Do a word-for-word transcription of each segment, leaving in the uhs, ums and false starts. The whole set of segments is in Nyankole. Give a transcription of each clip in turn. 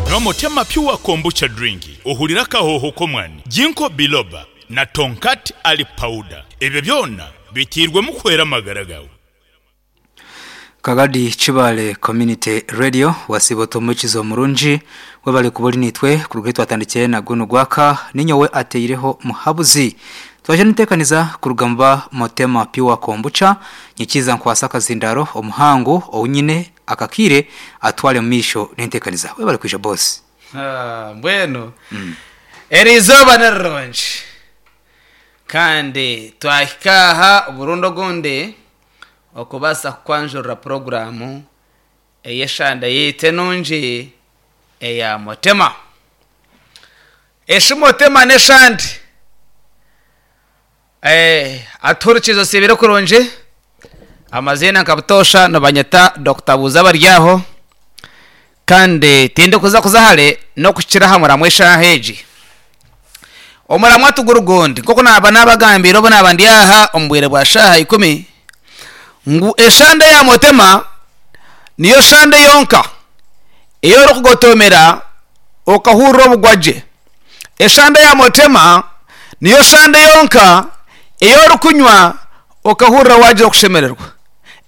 Nywa Motema Pure Kombucha Drink ohurire akahooho k'omwani, Ginkgo Biloba na Tongkat Ali Powder. Ebyo byona biteirwemu kuhwera amagara gaawe. Kagadi Kibaale Community Radio wasiiba ota omuhurikiza omurungi webale kuba ori naitwe kuruga ahu twatandikire na gunu gwaka ninyowe ateireho muhabuzi twaija nituteekaniza kuruga muba Motema Pure Kombucha nyikiza nkwase akazindaaro omuhangu ou nyine akakiire atware omu maisho n'enteekaniza webale kwija boss. Ah, mbwenu eri izooba ni rirungi kandi twahika aha oburundi ogundi okubaasa kukwanjurira puroguraamu ey'eshanda yaitu enungi eya Motema. Eshi Motema n'eshandi Eh, atuhurikize osiibire kurungi amaziina nka butoosha nibanyeta Dokita Buuza Baryaho kandi tindikuza kuza hare n'okukira aha muramwa eshaaha egi. Omuramwa tuguri gundi nk'oku naaba naabagambiire obu naaba ndi aha omu bwire bwa shaaha ikumi ngu eshande ya Motema niyo shande yonka ei orikugotomera okahurira obugwagye. Eshande ya Motema niyo shande yonka ei orikunywa okahurira waagira okushemererwa.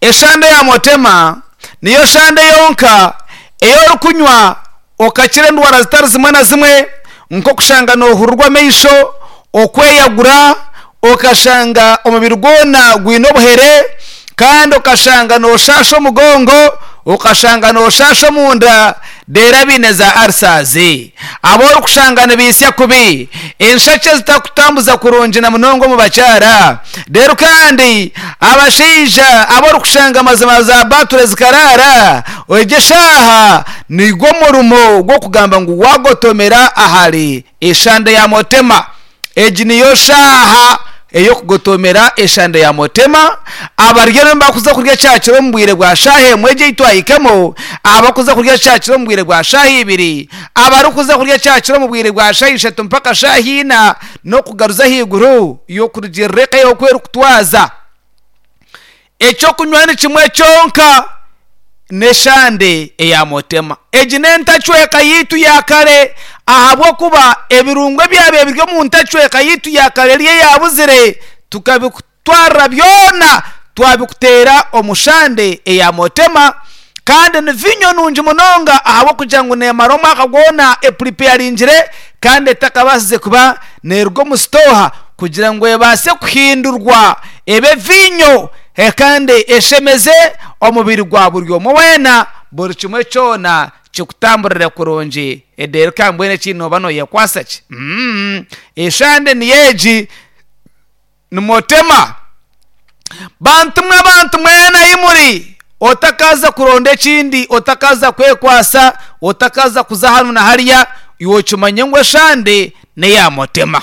Eshande ya Motema niyo shande yonka ei orikunywa okakira endwara zitari zimwe na zimwe nk'okushanga noohurirwa amaisho, okweyagura, okashanga omubiri gwona gwine obuhere kandi okashanga nooshaasha omugongo, okashanga nooshaasha omunda reero abaine za ulcers, abu orikushanga nibaitsya kubi, enshekye zitakutambuza kurungi na munonga omu bakyara, reero kandi abashaija abu orikushanga mazima za bature zikaraara, egi eshaaha nigwo murimo gw'okugamba ngu waagotomera ahari eshande ya Motema. Egi niyo shaaha ey'okugotomera eshande ya Motema. Abaryo nibakuza kurya kyakiro omu bwire bwa shaaha emwe egi ei twahikamo, abakuza kurya kyakiro omu bwire bwa shaaha ibiri, abarikuza kurya kyakiro omu bwire bwa shaaha ishatu mpaka shaaha ina, n'okugaruza ahaiguru y'okurugirira eka yawe oku erikutwaza. Ekyokunywa ni kimwe kyonka n'eshande eya Motema. Egi n'entacweka yaitu ya kare ahabw'okuba ebirungo ebyabaire biri omu ntacweka yaitu ya kare eri eyabuzire tukabikutwarira byona twabikuteera omu shande eya Motema kandi ni viinyo nungi munonga ahabw'okugira ngu neemara omwaka gwona epuripeyaringire kandi etakabaasize kuba neeruga omu sitooha kugira ngu ebaase kuhindurwa ebe viinyo kandi eshemeze omubiri gwa buri omwe weena buri kimwe kyona kikutamburire kurungi reero ka mbwenu ekindi nooba nooyekwasa ki? Mm, eshande niyo egi ni Motema. Bantu mwe bantu mwena ahi muri otakaza kuronda ekindi otakaza kwekwasa otakaza kuza hanu na hariya iwe okimanye ngu eshande n'eya Motema.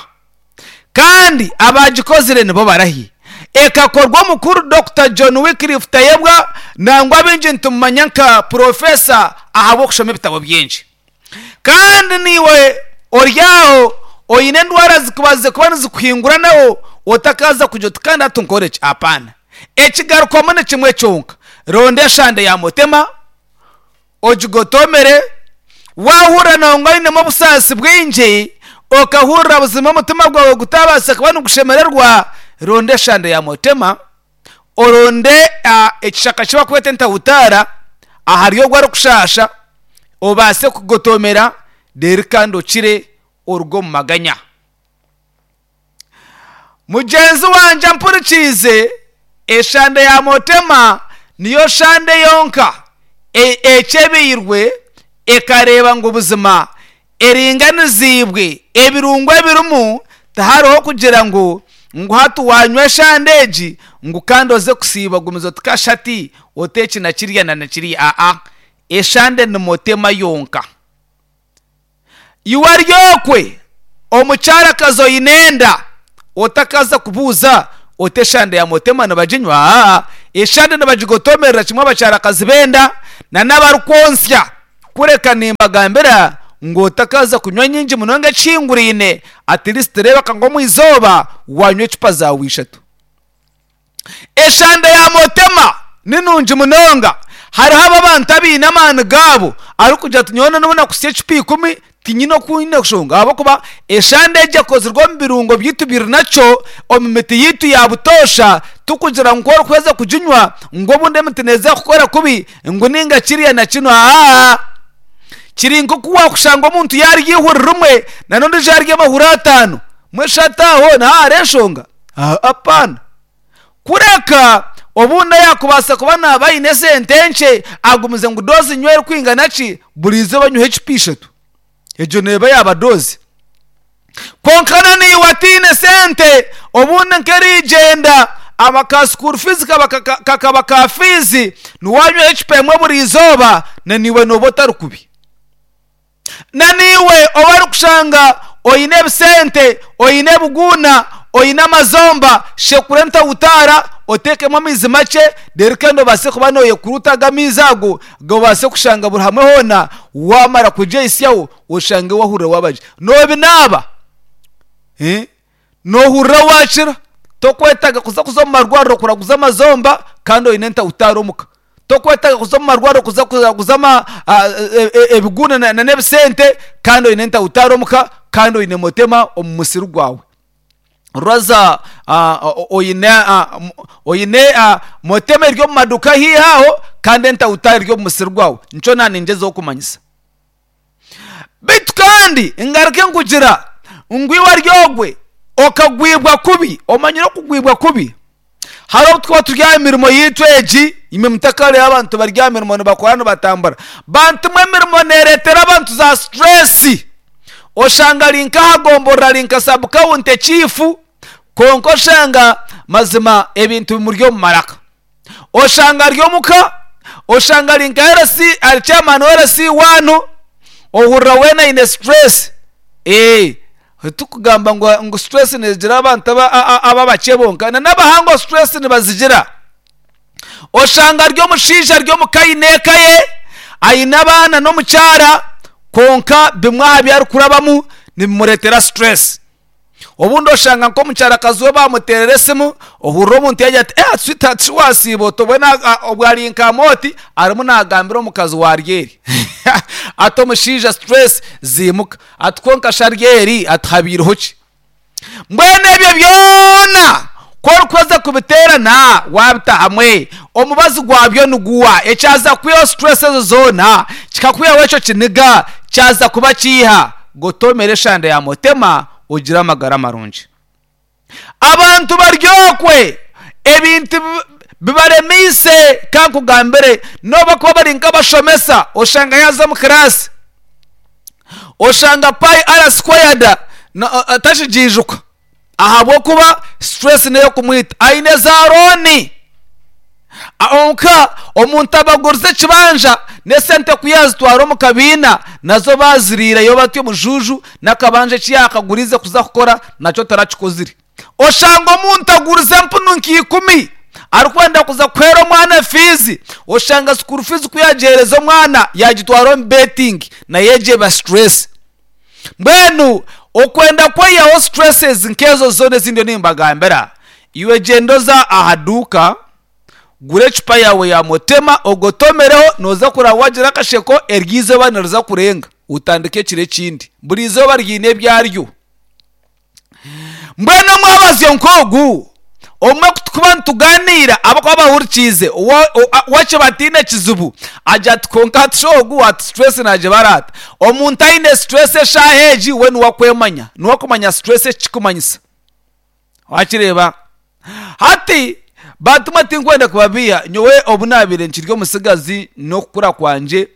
Kandi abaagikozire nibo barahi. Ekakorwa omukuru Dokita John Wycliffe Tayebwa nangwa abaingi nitumumanya nka Purofesa ahabw'okushoma ebitabo bingi. Kandi naiwe ori aho oine endwara zikubazize kuba nizikuhinguranaho otakaza kugira oti kandi hati nkore ki? Apaana. Ekigarukwamu ni kimwe kyonka, ronda eshande ya Motema ogigotomere, waahurira nangwa oinemu obusaasi bwingi okahurira buzima omutima gwawe gutabaasa kuba nigushemererwa, ronda eshande ya Motema, oronde ekishaka eki barikweta entahutaara ahari ogwo arikushaasha obaase kugotomera reero kandi okire oruge omu maganya. Mugyenzi wangye ampurikiize, eshande ya Motema niyo shande yonka ekyebeirwe ekareeba ngu buzima eringaniziibwe ebirungo ebirimu tihariho kugira ngu ngu hati waanywa eshande egi ngu kandi oze kusiiba gumize oti kashati oti eki na kiriya na na kiriya aa eshande ni Motema yonka. Iwe ari okwe omukyarakazi oine enda otakaza kubuuza oti eshande ya Motema nibaginywa aa eshande nibagigotomerera kimwe abakyarakazi b'enda na n'abarikwontsya kureka nimbagambira ngu otakaza kunywa nyingi munonga ekihinguraine at least reebeka ngu omu izooba waanywa ecupa zaawe ishatu. Eshande ya Motema ni nungi munonga Hariho aba abantu abaine amaani gaabo arikugira ati nyowe nabona kusya ecupa ikumi tinyine oku nyine kushonga, ahabw'okuba eshande egi ekozirwe omu birungo byaitu biri nakyo omu miti yaitu ya butoosha. Tukugira ngu orikuheza kuginywa ngu obundi emiti neeza kukora kubi ngu ninga kiriya na kinu. Aa, kiri nk'oku wakushanga omuntu yarya ihuri rimwe na n'ondiijo yarya amahuri ataano, mweshatu aho naho hariho enshonga. Apaana, kureka obundi ayakubaasa kuba naaba aine esente nkye agumize ngu doozi nywa erikwingana ki buri izooba nyweho ecupa ishatu, egyo neeba yaaba doozi. Kwonka na naiwe ataine sente, obundi nk'erigyenda aba ka school fees kaba kakaba ka fees, niwanywaho ecupa emwe buri izooba, na niiwe nooba otari kubi. Na niiwe oba orikushanga oine ebisente, oine ebiguuna, oine amazomba, shekura entawutaara oteekemu amaizi makye, reero kandi obaase kuba nooyekuruta aga amaizi ago gabaase kushanga buri hamwe hoona. Waamara kugyehitsyaho oshange wahurira waaba gye. Noobinaaba, noohurira waakira, tokwetaaga kuza kuza omu marwariro kuraguza amazomba kandi oine entawutaara omuka. Tokwetaaga kuza omu marwariro kuza kuraguza ebiguuna n'ebisente kandi oine entawutaara omuka, kandi oine motema omu musiri gwawe. Rwaza oine oine motema eri omu maduuka haihi aho kandi entawutaara eri omu musiri gwawe. Nikyo naaningyezaho kumanyisa. Beitu kandi ngaruke nkugira ngu iwe ari ogwe okagwibwa kubi. Omanyire okugwibwa kubi? Hariho obu tukuba turi aha mirimo yaitu egi, imwe mutakareeba abantu bari aha mirimo nibakora nibatambura. Bantu mwe emirimo neereetera abantu za stress. Oshanga ari nk'aha gomborora, ari nka sub county chief, kwonka oshanga mazima ebintu bimuri omu maraka. Oshanga ari omuka, oshanga ari nka L C, ari chairman wa L C one, ohurira weena aine stress. Ee, tikugamba ngu ngu stress neegira abantu aba abakye bonka, na n'abahango stress nibazigira. Oshanga ari omushaija ari omuka aine eka ye, aine abaana n'omukyara, kwonka bimwe aha bi arikurabamu nibimureetera stress. Obundi oshanga nk'omukyarakazi we bamuteerera esimu, ohurira omuntu yagira ati eh sweetheart shi wasiiba ota? Obwe obwo ari nka mooti arimu naagambira omukazi wa Aryeri. Ati omushaija stress ziimuka, ati kwonka shi Aryeri ati habaireho ki? Mbwenu ebyo byona ku orikuheza kubiteerana waabita hamwe, omubazi gwabyo niguwa ekyaza kwihaho stress ezo zoona, kikakwihaho ekyo kiniga kyaza kuba kiiha? Gotomera eshande ya motema ogire amagara marungi. Abantu baryokwe ebintu bibaremeise. Kankugambire, noba kuba bari nk'abashomesa, oshanga yaza omu kiraasi oshanga pi r squared takigiijuka ahabw'okuba stress n'ey'okumwita. Aine za loan onka omuntu abagurize ekibanja n'esente ku yazitwara omu kabiina nazo baziriireyo batyo omujuju, n'akabanja eki yakagurize kuza kukora nakyo tarakikozire. Oshanga omuntu agurize empunu nk'ikumi arikwenda kuza kuheera omwana fees, oshanga school fees ku yagiheereza omwana yagitwara omu betting, nayo egyo eba stress. Mbwenu okwenda kweyihaho stresses nk'ezo zoona ezindi nimbagambira, iwe gyenda oza aha duuka gura ecupa yaawe ya motema ogotomereho, nooza kuraba wagira akasheko eryo izooba niriza kurenga otandike ekiro ekindi. Buri izooba ryine ebyaryo. Mbwenu omwabazyo nk'ogu omwe kutukuba nituganiira abakuba bahurikiize wakye bataine kizibu agira ati kwonka ati shi ogu ati stress naagibara ata? Omuntu aine stress eshaaha egi we niwe akwemanya, niwe akumanya stress eki kikumanyisa. Wakireeba? Hati bantumwe tinkwenda kubabiiha, nyowe obu naabaire nkiri omutsigazi n'okukura kwangye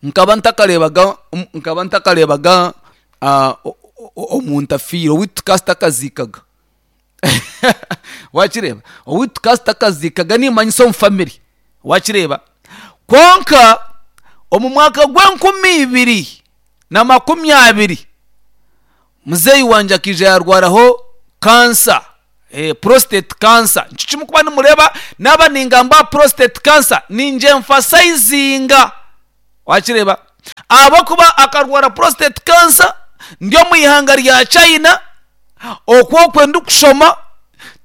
nkaba ntakareebaga nkaba ntakareebaga omuntu afiire, owaitu tukaba tutakaziikaga. Wakireeba? Owaitu tukaba tutakaziikaga nimmanyisa omu family. Wakireeba? Kwonka omu mwaka gw'enkumi ibiri na makumi abiri muzeeyi wangye akaija yaarwaraho cancer, prostate cancer. Nikyo kimwe nimureeba naaba ningamba aha prostate cancer ningye-emphasizinga. Wakireeba? Ahabw'okuba akarwara prostate cancer ndi omu ihanga rya China, okwo okwe ndikushoma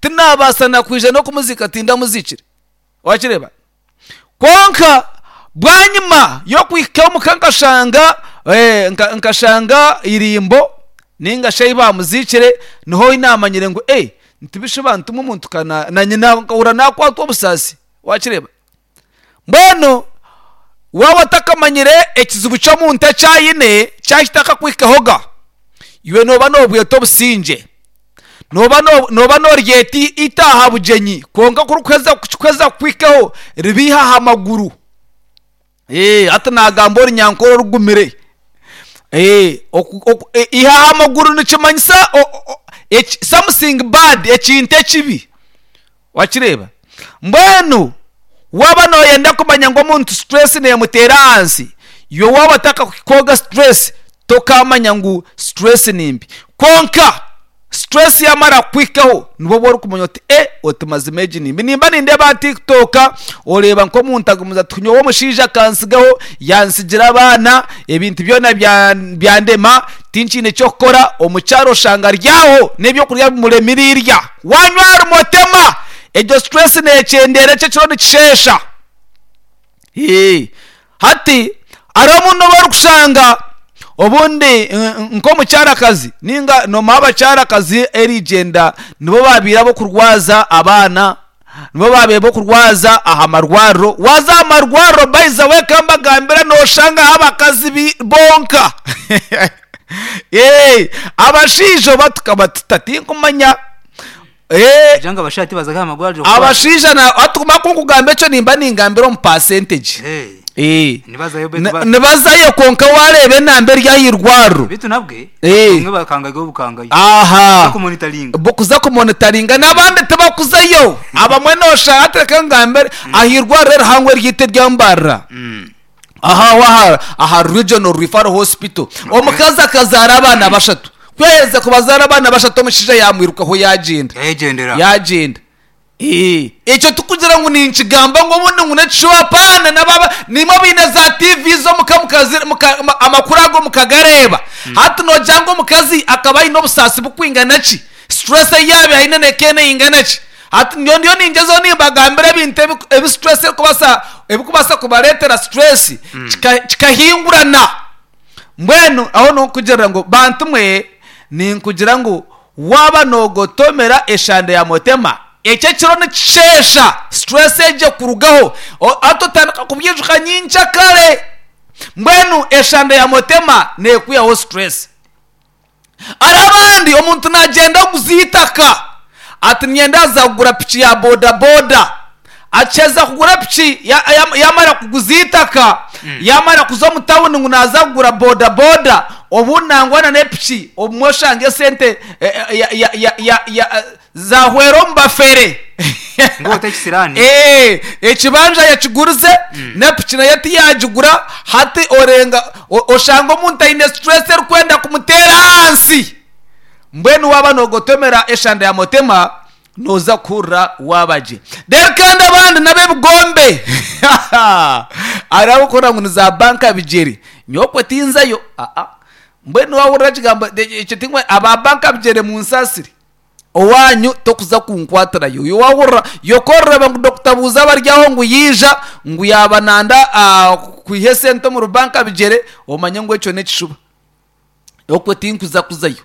tinabaasa na kwija n'okumuziika tindamuziikire. Wakireeba? Konka bwanyima yokuhika omuka nkashanga eh, nka- nkashanga irimbo ninga shi bamuzikire, niho namanyire ngu eh ntibishuba ntuma omuntu kana na nyina nkahura nakwatwa obusasi. Wakireba mbwenu waba otakamanyire ekizibu ky'omuntu ekyayine kyakitaka kwikahoga, iwe noba nobweta obusingye, noba no- noba noryeta itaha bugyenyi, konka kurikuheza kukikweza kukwikaho ribiha aha maguru. Eh, hati nagamba orunyankore orugumire. Eh, oku- oku- eh, iha aha maguru nikimanyisa o- o- o- eki- something bad, ekintu ekibi. Wakireba mbwenu waba noyenda kumanya ngu omuntu stress nemuteera ahansi, iwe waba otakakoga stress tokamanya ngu stress nimbi. Konka stress yamara kukwikaho nibwo oba orikumanya oti e oti mazima egi nimbi. Nimba nindeeba aha TikTok oreeba nk'omuntu agumiza ati nyowe omushaija akansigaho yansigira abaana, ebintu byona bya- byandema, tinkiine kyokukora. Omukyaro oshanga ryaho n'ebyokurya bimuremire irya, wanywa ahari motema, egyo stress nekyendera, ekyo ekiro nikisheesha. Ee, hati hariho omuntu obu orikushanga obundi eh, nk'omukyarakazi ninga nomuha abakyarakazi erigyenda nibo babiire abokurwaza abaana, nibo babiire bokurwaza aha marwariro. Waza aha marwariro by the way kambagambira noshangaho abakazi bi- bonka. Ee, abashaija oba tukaba tutatinkumanya. Ee, kugira ngo abashati bazaga amagwariro kuba- abashaija na atukuma kunkugamba ekyo nimba ningambira omu percentage. Eh, Eh. nibazayo betu Ni- ba- nibazayo konka wareeba enamba eri ah'irwariro. bitu nabwe Eh. bamwe bakangaga obukangayo Aha, kumonitaringa bokuza kumonitaringa n'abandi tibakuzayo. Abamwe noshanga atereka ngambere ah'irwariro erihango eryite ryambarira aha waha aha Regional Referral Hospital, omukazi akazaara abaana bashatu, kweheza kubazaara abaana bashatu omushaija yamwirukaho yagenda. Yayegendera. Yagenda. Eh, ekyo tukugira ngu ninkigamba ngu obundi ngu nekishuba, apaana. Nababa nimwe biine za T V zo muka mukazi- muka- ma- amakuru ago mukagareeba. Hati nogira ngu omukazi akaba aine obusaasi bukwingana ki, stress eyaaba aine nekeene ingana ki? Hati nyo ndiyo ningyezaho nimbagambira ebintu ebi- ebi stress erikubasa ebikubasa kubareetera stress kika- kikahingurana. Mbwenu aho nokugira ngu bantu mwe ninkugira ngu waba nogotomera eshande ya motema, ekyo ekiro nikisheesha stress egyo kurugaho. O- hati otandika kubyijuka nyinkya kare. Mbwenu eshande ya motema nekwihaho stress. Hari abandi omuntu nagyenda aguza itaka ati nyenda aza kugura piki ya bodaboda, akiheza kugura piki ya- ya- yamara kuguza itaka, yamara kuza omu tawuni ngu naza kugura bodaboda, obu nangwana n'epiki obumwe oshanga esente eh, eh, ya- ya- ya- ya- ya- zahwera omu bafere. Ngo otekisirani. Eh, ekibanja yakigurize nepiki nayo tiyagigura. Hati orenga o- oshanga omuntu aine stress erikwenda kumutera ahansi. Mbwenu waba nogotomera eshanda ya motema noza kuhurira wabagye. Rero kandi abandi n'ab'ebigombe hariho abakora ngu ni za banka bigyere, nyokwe tinzayo. Aa, mbwenu wahurira ekigambo ekyo tingwe aba banka bigyere munsasire, owanyu tokuza kunkwatirayo. Yo wahurira yokorera ngu Doctor Buuza baryaho ngu yiija ngu yaba nanda ah, kwiha esente omu rubanka bigyere, omanye ngu ekyo n'ekishuba, okwe tinkuza kuzayo.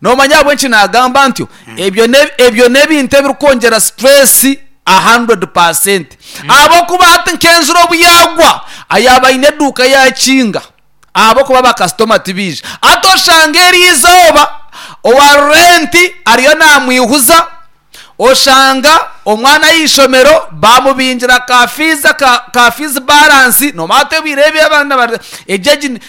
Nomanya ahabw'enki nagamba ntyo? Ebyo ne- ebyo n'ebintu ebirikwongyera stress one hundred percent, ahabwokuba hati nk'enjura obu yagwa ayaba aine eduuka yakinga ahabwokuba bakasitoma tibiija. Ati oshanga eri izooba owa renti ariyo namwihuza, oshanga omwana y'ishomero bamubingira ka fees ka, ka fees balance. Nomanya tebwire ebi abaana bari ejegi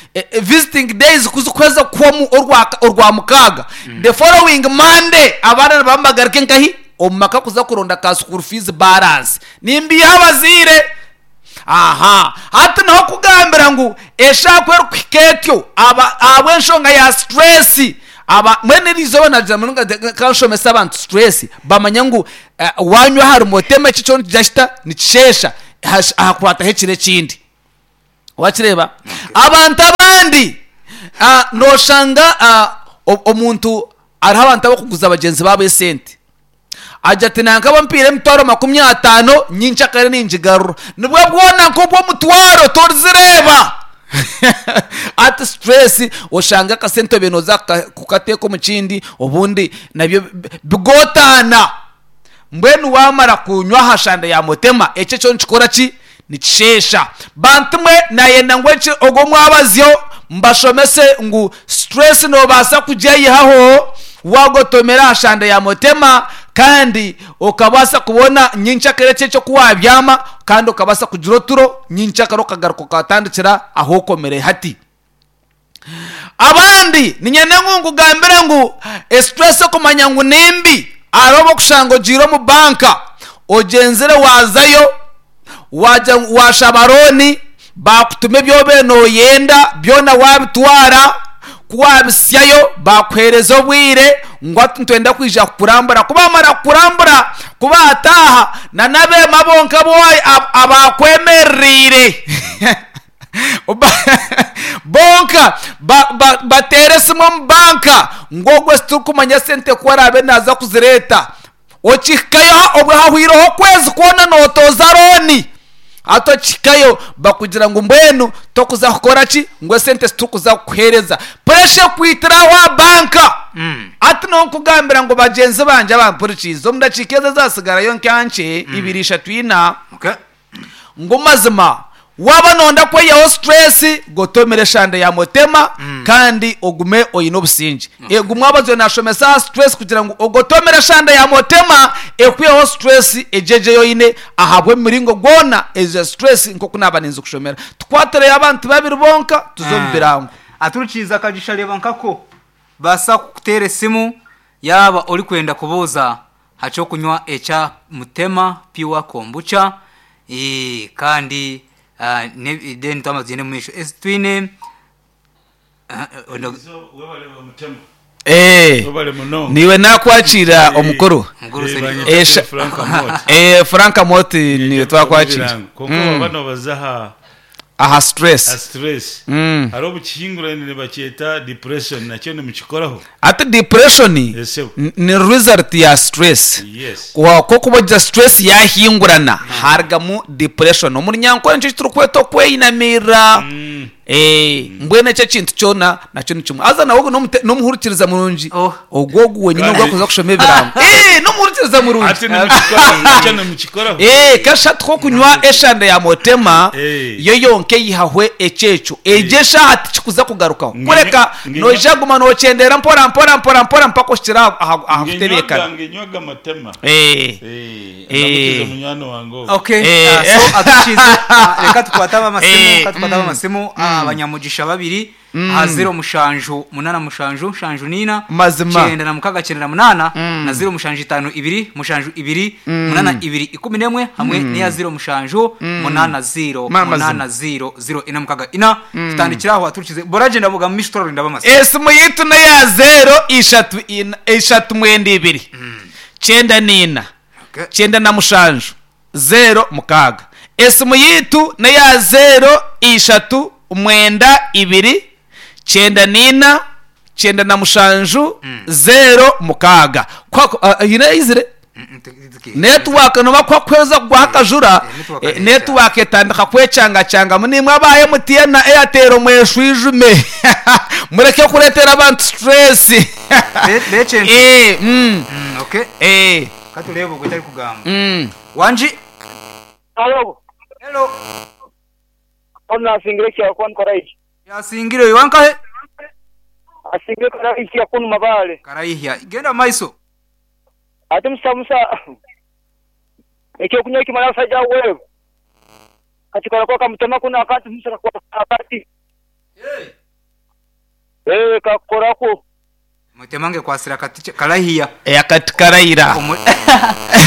visiting days kuzikweza kwomu orwa orwa mukaaga, the following Monday abaana nibambagarike nkahi omu maka kuza kuronda ka school fees balance nimbiha abaziire. Aha hati niho kugambira ngu eshaaku erikuhika etyo aba ahabw'enshonga ya stress aba mwene eriizooba nagira munonga kanshomesa abantu stress bamanya ngu eh, wanywa ahari motema ekyo kyo nikijya nikisheesha hash- ahakwataho ekiro ekindi. Wakireeba abantu abandi ah, noshanga ah, o- omuntu hariho abantu abakuguza bagyenzi baabo esente. Aja ati nankaba mpiire emitwaro makumi ataano, nyincakare ningigarura. Nibwo bwona nk'obw'omutwaro torizireeba. Ati stress oshanga akasente obe nooza kukateeka omu kindi, obundi nabyo bigotaana. Mbwenu waamara kunywa aha shanda ya mutema, ekyo ekyo nikikora ki? Nikisheesha. Bantu mwe nayenda ngu eki ogwo mwabazyo mbashomese ngu stress noobaasa kugyeyihaho wagotomera aha shanda ya mutema, kandi okabaasa kubona nyincakare eki ekyo ku wabyama, kandi okabaasa kugira oturo nyincakare okagaruka okatandikira ahu okomire hati. Abandi niinyenda ngu nkugambire ngu stress okumanya ngu nimbi, hariho obu okushanga ogiire omu banka, ogyenzire waazayo, waagya washaba looni, baakutuma ebi obaire nooyenda byona waabitwara, ku waabisyayo baakuheereza obwire ngu hati nitwenda kwija kukurambura. Ku baamara kukurambura, ku baataaha n'abeema bonka abu abakwemerereire bonka bateera esimu omu banka ngu ogwo titurikumanya sente ku araabe naaza kuzireeta. Okihikayo obwo hahwireho okwezi kwona nootooza looni. Hati okihikayo bakugira ngu mbwenu tokuza kukora ki, ngu esente titurikuza kukuheereza. Puresha ekwitira aho aha banka. Hati nonkugambira ngu bagyenzi bangye abampurikiize, omu dakiika ezi ezaatsigarayo nka nkye, ibiri, ishatu, ina, Okay. ngu mazima waaba noyenda kweyihaho stress, gotomera eshanda ya mutema kandi ogume oine obusingye. Egu mwabazo nashomesa aha stress kugira ngu ogotomera eshanda ya mutema ekwiheho stress egyegye yoine ahabw'emiringo gwona ezo stress nk'oku naaba ninza kushomera. Tukwatireyo abantu babiri bonka tuze omu birango. Aturikiiza akagisha reeba nkako baasa kukuteera esimu yaaba orikwenda kubuuza ha ky'okunywa ekya Mutema Pure Kombucha, eh, kandi ah, ne- then twaba tugyende omu maisho. Esi twine ah, ono- Eh, Webale munonga. niiwe nakwakira omukuru. Mukuru Eh, Seni- banyita Eh, sha- Frank Amoti. Eh, Frank Amoti niwe twakwakira. Konka Mm. bano baza aha Aha aha stress. stress. Mm. Hariho obukihingurane nibakyeta depression, nakyo nimukikoraho. Ati depression Yes, sir. n- ni result ya stress. Yes. Kwa kuba stress yahingurana harugamu depression. Omu runyankore nikyo kiturikweta okweyinamira. Mm. Eh, mbwenu ekyo ekintu kyona nakyo ni kimwe. Haza nawe ogu n'omute- n'omuhurikiriza murungi. Oh. Ogwo ogu wenyine Kandi- ogwo akuza kushoma ebirango. Eh, n'omuhurikiriza murungi. Ati nimukikoraho, nakyo nimukikoraho. Eh, kashatu kokunywa eshanda ya mutema Eh. yo yonka eyihahwe ekyekyo egyo eshaaha tikikuza kugarukaho Nge- kureka nge- noija guma nokyendera mpora mpora mpora mpora mpaka oshikire aha- aha aha Ngenywaga kutebeekana. ngenywaga matema. Eh. Eh, Eh. ndamukiza munywani wange ogwo. Okay, Eh. ah, so atukize ah, reka tukwate abamasimu, Eh, reka tukwate abamasimu, ah, abanyamugisha babiri aha ziro mushanju munana mushanju mushanju nina Mazima. kyenda na mukaga kyenda na munana na ziro mushanju itanu ibiri mushanju ibiri munana ibiri ikumi n'emwe hamwe n'iya ziro mushanju munana ziro Ma- mazima. munana ziro ziro ina mukaga ina. Tutandikira aho aturikize boragenda buga mu misho turarinda abamasimu. Esimu yitu neya zero ishatu ina- ishatu mwenda ibiri kyenda nina Okay. kyenda na mushanju zero mukaaga. Esimu yitu neya zero ishatu mwenda ibiri kyenda nina kyenda na mushanju zero mukaaga. Kwako uh, yine izire Mm, mm, tuki- network noba kwakweza kugwaho akajura, Eh, network eh, areka. network etandika kwekyangacyangamu. Nimwe aba M T N na Airtel mweshwijume mureke kureetera abantu stress. Be- bechenzi. Eh, mm, Mm, okay. eh, Katurebe ogwo tari kugamba. mm. Wanji. Alo, Hello. ona asingire kya kwani karaihi. Yasingire oyo wankahe? Asingire karaihi ya kunu mabale. Karaihya. Genda maiso. Ate musa musa. Ekyo kunywa kimala saja wewe. Katikora kwa kamutema kuna akati musa kwa akati. Hey. Eh kakora ko. Mutemange kwasira kati karaihya. Eh, akati karayira. Omuri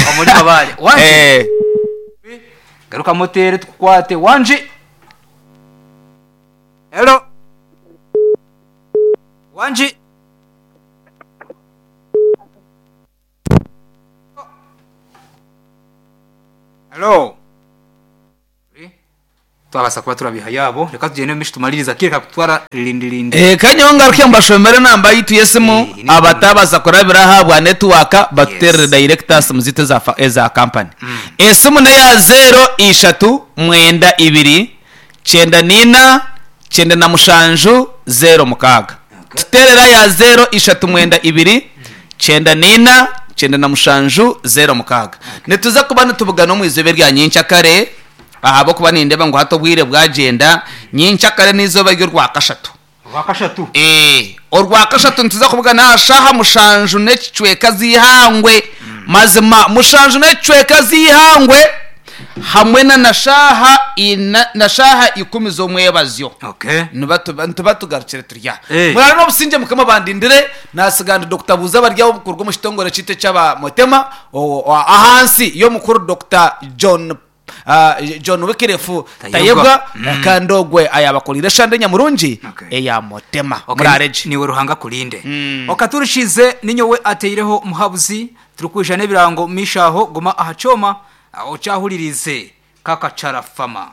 omuri mabale. Wanji. Eh, Garuka motere tukukwate. Wanji. Hello. Wanji. Hello. Twabasa kuba turabiha yabo, reka tugende mishi tumaliriza kireka kutwara lindilindi. Eh, kanyeho ngaruke mbashomere namba yitu yesimu. Eh, ni- Abatabaza kurabira ahabwa network batuterere Yes. direct simu zitu eza fa- eza company. Esimu neya zero ishatu mwenda ibiri cyenda nina cyenda na mushanju zero mukaaga. Okay. Tuterera ya zero ishatu mwenda ibiri cyenda nina cyenda na mushanju zero mukaaga. Nituza kuba nitubugana omu izobe rya nyenkyakare, ahabwokuba nindeba ngu hati obwire bwagenda. Nyenkyakare n'izoba ry'orwa kashatu. Wakashatu. Eh, orwa kashatu nituza kubugana aha shaha mushanju n'ekicweka z'ihangwe. Mazima mushanju n'ekicweka z'ihangwe hamwe na na shaha ina na shaha ikumi z'omwebazyo. Okay. Nituba tugarukire turya. Eh. Murare n'obusinge, mukama bandindire. Nasiganda Dr Buza baryaho omukuru gw'omukitongore kitu eky'abamotema o- o- ahansi y'omukuru Dr John ah, John Wikirefu Tayebwa. Tayebwa. Kandi ogwe ayabakolire shande nyamurungi Okay. eya motema. Okay, murareje. Niwe Ruhanga kulinde. Okaturishize ninyowe ateireho muhabuzi, turikwisha n'ebirango mishaho. Guma aha choma, aho cyahuririze kakacara fama.